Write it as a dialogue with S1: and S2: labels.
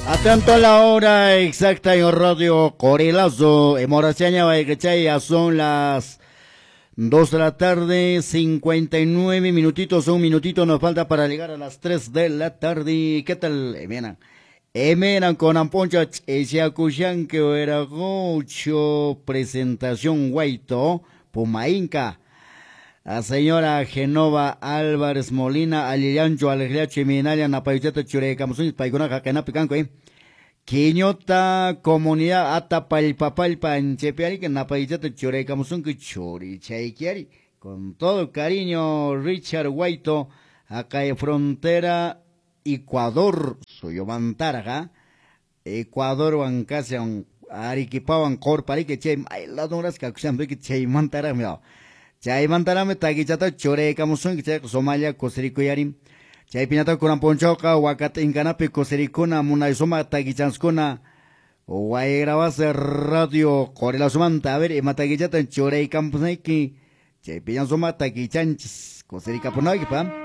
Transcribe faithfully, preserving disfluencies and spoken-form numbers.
S1: Atento a la hora exacta en Radio Corelazo, en Morachaña, Vallechay, son las dos de la tarde, cincuenta y nueve minutitos, un minutito nos falta para llegar a las tres de la tarde. ¿Qué tal, Emena? Emena con Amponcha, Echacuyanque, Veragocho, presentación Guaito, Pumainca. A señora Genova Álvarez Molina, Alillancho, Alejliacho y Minaya, Napayuchata, Churecamusuñez, Paicuna, Jaquenapi, Canco, eh. Quiñota, Comunidad, Atapalpapalpa, Anchepiari, que Napayuchata, Churecamusunque, Churichayquiari. Con todo cariño, Richard Guaito, acá en frontera, Ecuador, Suyomantaraja, Ecuador, Huancasian, Arequipawan, Corparique, Che, ay, la donras, Cacusambique, Che, Mantara, mira. Chaymantarami takichata churaykamusunki chayqa Somalia kusirikuyari. Chaypiñata kunan punchawqa wakat'inkanapi kusirikuna munay sumaq takichanskuna Wayrabase Radio Corelazumanta. A ver, ima takichata churaykamusunki chaypiña sumaq takichanchis kusirikapunayki pa.